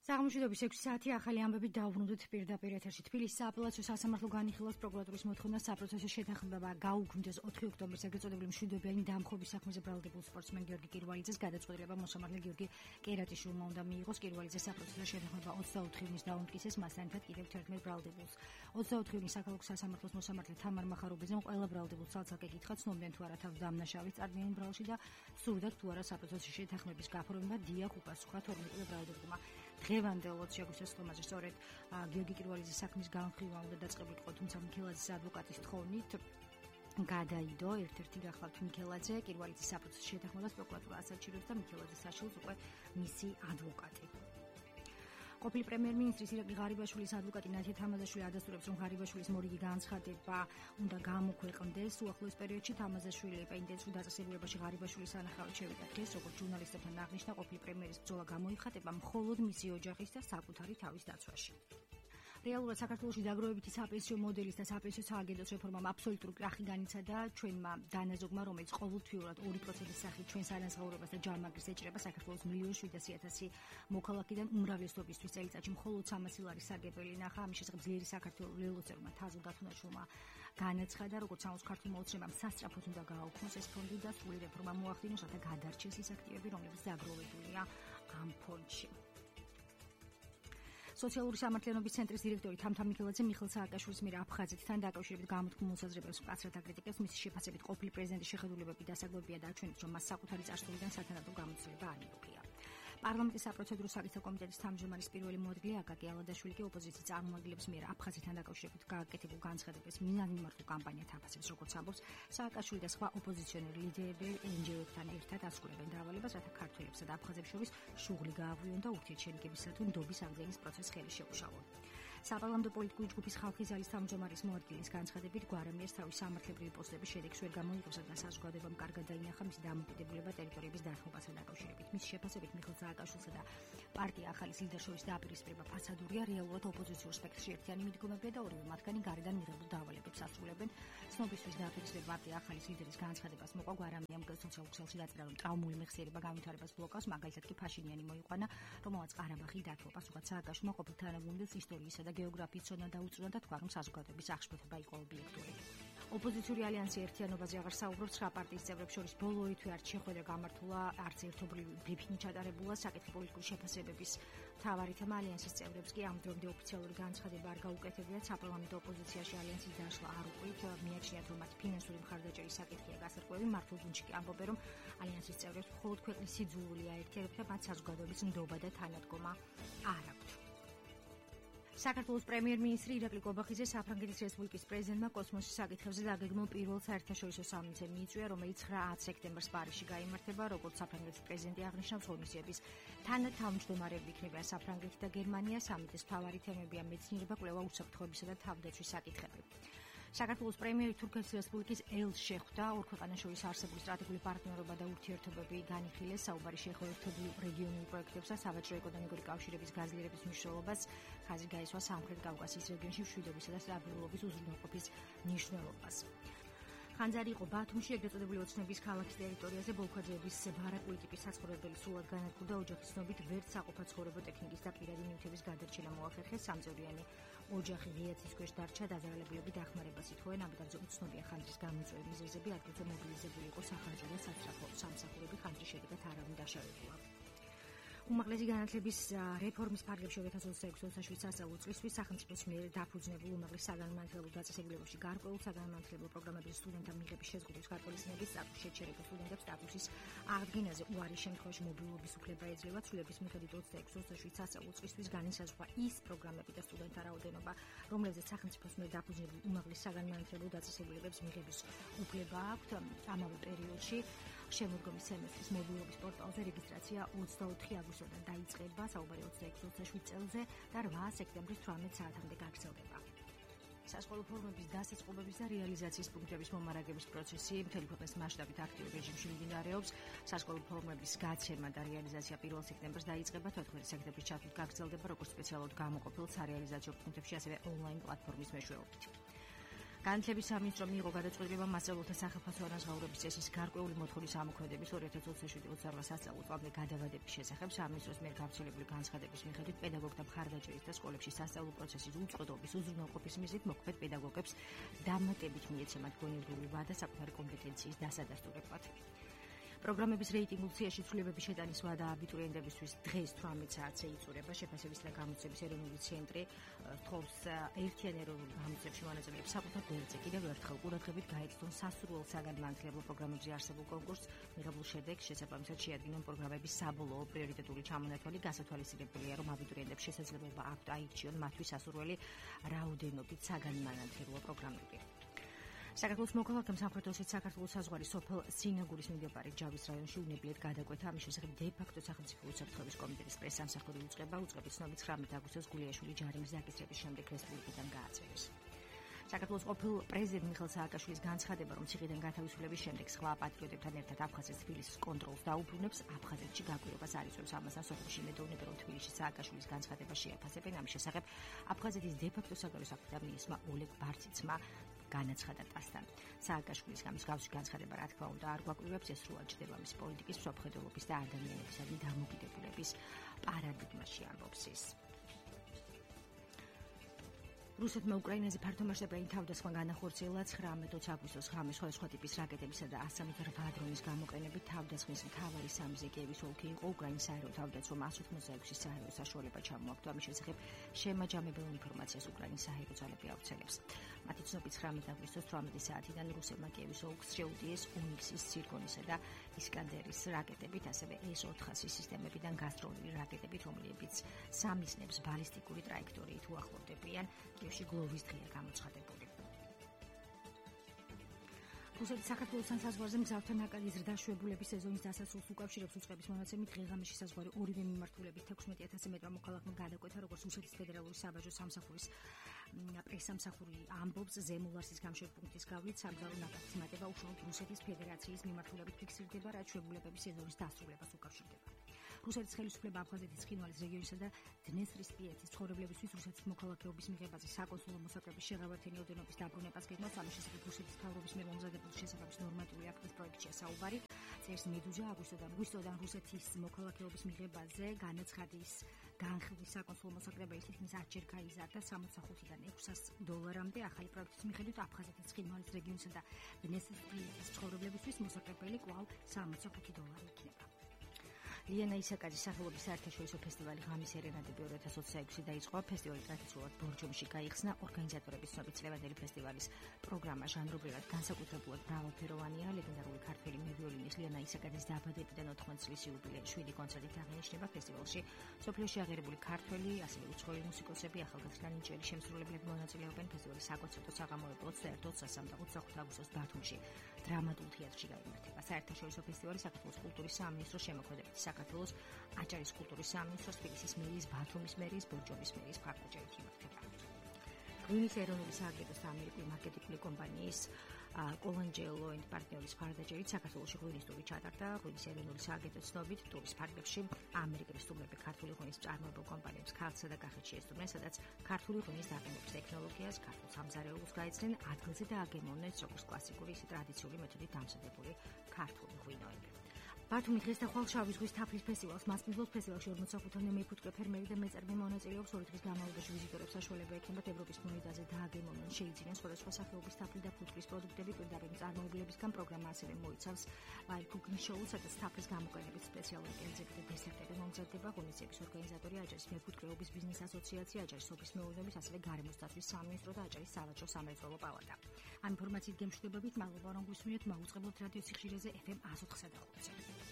საღამოშვიდობის 6 საათი ახალი ამბები დავბრუნდით პირდაპირ ეთერში. თბილისის სააპელაციო სასამართლო განიხილავს პროკურატურის მოთხოვნას საპროცესო შეთანხმება გაუქმდეს 4 ოქტომბრის ეგრეთ წოდებული მშვიდობიანი დამხობის საქმეზე ბრალდებულ სპორტსმენ გიორგი კირვალიძეს გადაწყვეტილება მოსამართლე გიორგი კერატიშვილმა უნდა მიიღოს. კირვალიძეს საპროცესო შეთანხმება 24 ივნის დაუმტკიცეს მასთან ერთად კიდევ 11 ბრალდებულს. 24 ივნის საქალაქო სასამართლოს მოსამართლე თამარ მახარობიძემ ყველა ბრალდებულს ცალ-ცალკე კითხა, ცნობდნენ თუ არა თავის დამნაშავის წარდგენილ ბრალში და სურდათ თუ არა საპროცესო შეთანხმების გაფორმება. დიახ, უპასუხა 12 ბრალდებულმა. დღევანდელოც შეგვიძლია სწორმაზე სწორედ გიორგი კირვალიძის საქმის განხილვა უნდა დაწყებულიყო, თუმცა მიქელაძის ადვოკატის თხოვნით გადაიდო ერთ-ერთი გახლავთ მიქელაძე. კირვალიძის საპროცესო შეთანხმებას პროკურატურა ასაჩირებს და მიქელაძის საშვილს უკვე მისი ადვოკატი. ყოფილი პრემიერ-მინისტრის ირაკლი ღარიბაშვილის ადვოკატი ნათია თამაზაშვილი ადასტურებს, რომ ღარიბაშვილის მორიგი განცხადება უნდა გამოქვეყნდეს. უახლოეს პერიოდში თამაზაშვილი პენდენს დაწესებულებაში ღარიბაშვილის სანახავად შევიდა დღეს, როგორც ჟურნალისტებთან აღნიშნა, ყოფილი პრემიერის ბრძოლა გამოიხატება მხოლოდ მისი ოჯახის და საკუთარი თავის დაცვაში. რეალურად საქართველოში დაგროვებითი საპენსიო მოდელის და საპენსიო სააგენტოს რეფორმამ აბსოლუტური კრახი განიცადა ჩვენმა დანაზოგმა, რომელიც ყოველთვიურად 2%-ის სახით ჩვენს ანაზღაურებას და ჯარმაგრს ეჭრება საქართველოს 1,700,000 მოქალაქიდან უმრავლესობისთვის წელიწადში მხოლოდ 300 ლარის სარგებელი ნახა. ამის შესახებ ძლიერი საქართველოს ველოსერმა თაზულ დათუნაშვილმა განაცხადა, როგორც ამოს ქართულმა ოცნებამ სასწრაფოდ უნდა გააუქმოს ეს ფონდი და სრული რეფორმა მოახდინოს, რათა გადარჩეს ის აქტივები, რომლებიც დაგროვებულია ამ ფონდში. სოციალური სამართლიანობის ცენტრის დირექტორი თამთა მიქელაძე მიხეილ სააკაშვილის მიერ აფხაზეთთან დაკავშირებით გამოთქმულ მოსაზრებებს მკაცრად აკრიტიკებს. მისი შეფასებით ყოფილი პრეზიდენტის შეხედულებები დასაკვირვებია და აჩვენებს, რომ მას საკუთარი წარსულიდან სათანადო გამოცდილება არ მიუღია. პარლამენტის საპროცედურო საკითხთა კომიტეტის თავმჯდომარის პირველი მოადგილე აკაკი ალადაშვილი კი ოპოზიციის წარმომადგენლებს მიერ აფხაზეთთან დაკავშირებით გააკეთებულ განცხადებას მინანიმართულ კამპანიად აფასებს. როგორც ამბობს, სააკაშვილი და სხვა ოპოზიციონერი ლიდერები NGO-ებთან ერთად ასრულებენ დავალებას, რათა ქართველებსა და აფხაზებს შორის შუღლი გააღვიონ და ურთიერთშენიკებისა თუ ნდობის აღძენის პროცესი ხელი შეუშალონ. საპარლამენტო პოლიტიკური ჯგუფის ხალხის ძალის თავმჯდომარის მოადგილის განცხადებით, გვარამიერს თავის სამართლებრივი პოსტების შედეგს ვერ გამოიყოსა და საზოგადოებამ კარგად დაინახა მისი დამოკიდებულება ტერიტორიების დათმობასთან დაკავშირებით. მის შეფასებით მიხეილ სააკაშვილსა და პარტია ახალის ლიდერს შორის დაპირისპირება ფასადურია, რეალურად ოპოზიციურ სპექტრში ერთიანი მიდგომებია და ორივე მათგანი გარედან მიღებულ დავალებებს ასრულებენ. ცნობისთვის დაპირისპირება პარტია ახალის ლიდერის განცხადებას მოყვა. გვარამიამ სოციალურ ქსელში დაწერა, რომ ტრავმული მეხსიერება განვითარებას ბლოკავს, მაგალითად კი ფაშინიანი მოიყვანა, რომელმაც ყარაბაღი დათო. პასუხად სააკაშვილმა ყოფილ თანაგუნდელს ისტორიისა და გეოგრაფიის ცოდნა დაუწუნა და თქვა, რომ საზოგადოების აღშფოთება იყო ობიექტური. ოპოზიციური ალიანსი ერთიანობაზე აღარ საუბრობს. 9 პარტიის წევრებს შორის ბოლო თვე არც შეხვედრა გამართულა, არც ერთობლივი ბრიფინგი ჩატარებულა. საკითხი პოლიტიკური შეფასებების მთავარი თემა. ალიანსის წევრებს კი ამ დრომდე ოფიციალური განცხადება არ გაუკეთებიათ. საპარლამენტო ოპოზიციაში ალიანსის დაშლა არ უყვით. მიაჩნიათ, რომ მათ ფინანსური მხარდაჭერის საკითხია გასარკვევი. მართულ გუნდში კი ამბობენ, რომ ალიანსის წევრებს მხოლოდ ქვეყნის სიძულველი აერთიანებთ და მათ საზოგადოების ნდობა და თანადგომა არ აქვთ. საქართველოს პრემიერ-მინისტრი ირაკლი კობახიძე საფრანგეთის რესპუბლიკის პრეზიდენტმა კოსმოსის საკითხებზე დაგეგმილ პირველ საერთაშორისო სამიტზე მიიწვია, რომელიც 9 სექტემბერს პარიზში გაიმართება. როგორც საფრანგეთის პრეზიდენტი აღნიშნავს, ღონისძიების თანათავმჯდომარეები იქნებიან საფრანგეთი და გერმანია. სამიტის მთავარი თემებია მეცნიერება, კვლევა, უსაფრთხოებისა და თავდაცვის საკითხები. საქართველოს პრემიერი თურქეთის რესპუბლიკის ელს შეხვდა. ორ ქვეყანას შორის არსებული სტრატეგიული პარტნიორობა და ურთიერთობები განიხილეს. საუბარი შეეხო ერთობლივ რეგიონულ პროექტებსა, საბაჟო-ეკონომიკური კავშირების გაძლიერების მნიშვნელობას, ხაზი გაისვა სამხრეთ კავკასიის რეგიონში მშვიდობისა და სტაბილურობის უზრუნველყოფის მნიშვნელობას. ხანძარი იყო ბათუმში, ეგრეთ წოდებული ოცნების ქალაქის ტერიტორიაზე ბოლქვაძეების ბარაკული ტიპის საცხოვრებელი სულად განადგურდა. ოჯახის ცნობით ვერც საყოფაცხოვრებო ტექნიკის და პირადი ნივთების გადარჩენა მოახერხეს. სამწევრიანი ოჯახი ღიაცის ქვეშ დარჩა, დაზარალებულები დახმარებას ითხოვენ. ამიტომაც უცნობია ხანძრის გამოწვევის მიზეზები, ადგილზე მობილიზებული იყო სახანძრო და სასწრაფო სამსახურები. ხანძრის შედეგად არავინ დაშავებულა. უმაღლესი განათლების რეფორმის ფარგლებში 2026-27 სასწავლო წლისთვის სახელმწიფოს მიერ დაფუძნებულ უმაღლეს საგანმანათლებლო დაწესებულებებში გარკვეულ საგანმანათლებლო პროგრამების სტუდენტთა მიღების შეზღუდვის გარკვეულწინების სტატუსის შეჩერება სტუდენტებს სტატუსის აღდგენაზე უარის შემთხვევაში მობილობის უფლება ეძლევა. ცვლილებების მიხედვით 26-27 სასწავლო წლისთვის განისაზღვრა ის პროგრამები და სტუდენტთა რაოდენობა, რომლებზეც სახელმწიფოს მიერ დაფუძნებულ უმაღლეს საგანმანათლებლო დაწესებულებებს მიღების უფლება აქვთ. ამავე პერიოდში შემოდგომის სემესტრის მობილობის პორტალზე რეგისტრაცია 24 აგვისტოდან დაიწყება, საუბარი 26-27 წელზე და 8 სექტემბრის 18 საათამდე გაგრძელდება. სასკოლო ფორმების დასაწყობების და რეალიზაციის პუნქტების მომარაგების პროცესი მთელი ქვეყნის მასშტაბით აქტიურ რეჟიმში მიმდინარეობს. სასკოლო ფორმების გაცემა და რეალიზაცია 1 სექტემბერს დაიწყება, 14 სექტემბრის ჩათვლით გაგრძელდება როგორც სპეციალურად გამოყოფილ სარეალიზაციო პუნქტებში, ასევე ონლაინ პლატფორმის მეშვეობით. განათლების სამინისტრომ მიიღო გადაწყვეტილება მასწავლებლთა სახელმწიფო ანაზღაურების წესის გარკვეული მოთხოვნის ამოქმედების 2027-28 სასწავლო წლამდე გადავადების შესახებ სამინისტროს მიერ გავრცელებული განცხადების მიხედვით პედაგოგთა მხარდაჭერის და სკოლებში სასწავლო პროცესის უწყლობის უზრუნველყოფის მიზნით მოქმედ პედაგოგებს დამატებით მიეცემათ გონივრული ვადა საკუთარი კომპეტენციის დასადასტურებლად. პროგრამების რეიტინგულ სიაში ცვლილებების შეტანის ვადა აბიტურიენტებისთვის დღეს 18 საათზე იწურება. შეფასების და გამოცემის ეროვნული ცენტრი თხოვს ერთიან ეროვნულ გამოცემებში მონაწილეებს საკუთარ გვერდზე კიდევ ერთხელ ყურადღებით გაეცნონ სასურველ საგანმანათლებლო პროგრამებზე არსებულ კონკურსს. მიღებულ შედეგს შესაბამისად შეადგინონ პროგრამების საბოლოო პრიორიტეტული ჩამონათვალი. გასათვალისწინებელია, რომ აბიტურიენტებს შესაძლებლობა აქვთ აირჩიონ მათთვის სასურველი რაოდენობით საგანმანათლებლო პროგრამები. საქართველოს მოქალაქემ სამხრეთ ოსეთის საქართველოს საზღვარი სოფელ სინაგურის მიმდებარე ჯავის რაიონში უნებლიეთ გადაკვეთა. ამის შესახებ დე-ფაქტო სახელმწიფო უსაფრთხოების კომიტეტის პრესსამსახური უწყება. უწყების ცნობით 19 აგვისტოს გულიაშვილი ჯარიმის დაკისრების შემდეგ რესპუბლიკიდან გააწერეს. საქართველოს ყოფილ პრეზიდენტ მიხეილ სააკაშვილის განცხადება, რომ ციხიდან გათავისუფლების შემდეგ სხვა პატრიოტებთან ერთად აფხაზეთს თბილისის კონტროლს დაუბრუნებს, აფხაზეთში გაკვირვებას არ იწვევს. ამასთან სოფელში იმედოვნებენ, რომ თბილისში სააკაშვილის განცხადება შეაფასებენ. ამის შესახებ აფხაზეთის დე-ფაქტო საგარეო საქმეთა მინისტრმა ოლეგ ბარციცმა განაცხადა ტასთან. სააკაშვილის გამოსგავსი განცხადება, რა თქმა უნდა, არ გვაკვირვებს, ეს სრულად ჯდება მის პოლიტიკის, მსოფლმხედველობის და ადამიანებისადმი დამოკიდებულების პარადიგმაში, ამბობს ის. რუსეთმა უკრაინაზე ფართომასშტაბიანი თავდასხმა განახორციელა 19 აგვისტოს ღამე სხვადასხვა ტიპის რაკეტებისა და 108 დრონის გამოყენებით. თავდასხმის მთავარი სამიზე კიევის ოლქი იყო. უკრაინის საერო თავდაცვამ 186 საერო საშუალება ჩამოაგდო. ამის შესახებ შემაჯამებელ ინფორმაციას უკრაინის საერო ძალები ავრცელებს. მათი ცნობით 19 აგვისტოს 18 საათიდან რუსებმა კიევის ოლქს შეუტიეს უნიქსის, ცირკონისა და ისკანდერის რაკეტებით, ასევე S-400 სისტემებიდან გასწროლილი რაკეტებით, რომლებიც სამიზნებს ბალისტიკური ტრაექტორიით უახლოვდებიან. კიევში გლოვის დღეა გამოცხადებული. რუსეთის საქართველოსთან საზღვარზე მგზავრთა ნაკადი ზრდაშვებულების სეზონის დასასრულს უკავშირებს უწყების მონაცემით. დღე-ღამეში საზღვარი ორივე მიმართულებით 16,000 მეტრ მოქალაქემ გადაკვეთა, როგორც რუსეთის ფედერალური საბაჟო სამსახურის პრესსამსახური ამბობს. ზემო-ლარსის გამშვებ პუნქტის გავლით სამგზავრო ნაკადის მატება უშუალოდ რუსეთის ფედერაციის მიმართულებით ფიქსირდება, რაც ჩვეულებების სეზონის დასრულებას უკავშირდება. რუსეთის ხელისუფლება აფხაზეთის ცხინვალის რეგიონისა და დნესტრისპიეთის ცხოვრებლებისთვის რუსეთის მოქალაქეობის მიღებაზე საკონსულო მოსაკრების შეღავათენი ოდენობის დაბრუნებას გეგმავს. ამის შესახებ რუსეთის მთავრობის მიერ მომზადებული შესაბამის ნორმატიული აქტის პროექტშია საუბარი. წერს მედუზა. აგვისტოდან რუსეთის მოქალაქეობის მიღებაზე განაცხადის განხილვის საკონსულო მოსაკრებელი თითქმის 10-ჯერ გაიზარდა $65-დან $600-მდე. ახალი პროექტის მიხედვით აფხაზეთის ცხინვალის რეგიონისა და დნესტრისპიეთის ცხოვრებლებისთვის მოსაკრებელი კვლავ $65 იქნება. ლიანა ისაკაძის სახელობის საერთაშორისო ფესტივალი ღამის ერენადები 2026 დაიწყო. ფესტივალი ტრადიციულად ბორჯომში გაიხსნა. ორგანიზატორების ცნობით ლევანდელი ფესტივალის პროგრამა ჟანრობრივად განსაკუთრებულად მრავალფეროვანია. ლეგენდარული ქართველი მევიოლინის ლიანა ისაკაძის დაბადებიდან 80 წლის იუბილეის 7 კონცერტით აღინიშნება ფესტივალში. სოფლიოში აღიარებული ქართველი, ასევე უცხოელი მუსიკოსები, ახალგაზრდა ნიჭიერი შემსრულებლები მონაწილეობენ. ფესტივალის საკონცერტო საღამოები 21 საათსა და 25 აგვისტოს ბათუმში დრამატულ თეატრში გაიმართება. საერთაშორისო ფესტივალი საქართველოს კულტურის სამინისტროს შემოქმედებით საქართველოს აჭარის კულტურის სამინისტროს, თბილისის მერიის, ბათუმის მერიის, ბორჯომის მერიის მხარდაჭერით იმართება. ღვინის ეროვნული სააგენტოს და ამერიკული მარკეტინგული კომპანიის კოლანჯელო & პარტნიორის მხარდაჭერით საქართველოში ღვინის ტური ჩატარდა. ღვინის ეროვნული სააგენტოს ცნობით ტურის ფარგლებში ამერიკელი სტუმრები ქართული ღვინის მწარმოებელ კომპანიებს ქართლსა და კახეთში ესტუმრნენ, სადაც ქართული ღვინის აღემობის ტექნოლოგიას, ქართულ სამზარეულოს გაეცნენ, ადგილზე და აგემოვნეს როგორც კლასიკური, ისე ტრადიციული მეთოდით დამზადებული ქართული ღვინოები. ბათუმი დღეს და ხვალ შავი ზღვის თაფლის ფესტივალს მასპინძლობს. ფესტივალში 45-მდე მეფუტკრე ფერმერი და მეწარმე მონაწილეობს. 2 დღის განმავლობაში ვიზიტორებს საშუალება ექნებათ ევროპის მონიდაზე დააგემოვნონ, შეიძინონ სხვადასხვა სახეობის თაფლი და ფუტკრის პროდუქტები. პირდაპირ მწარმოებლებისგან პროგრამა ასევე მოიცავს live cooking show-ს, სადაც თაფლის გამოყენებით სპეციალური კერძები და დესერტები მომზადდება. ღონისძიების ორგანიზატორია აჭარის მეფუტკრეობის ბიზნეს ასოციაცია, აჭარის სოფლის მეურნეობის, ასევე გარემოს დაცვის სამინისტრო და აჭარის სავაჭრო-სამრეწველო პალატა. ამ ინფორმაციით გემშვიდობებით, მადლობა რომ გვისმინეთ. მაუწყებლობთ რადიო სიხშირეზე FM 104.5-ზე.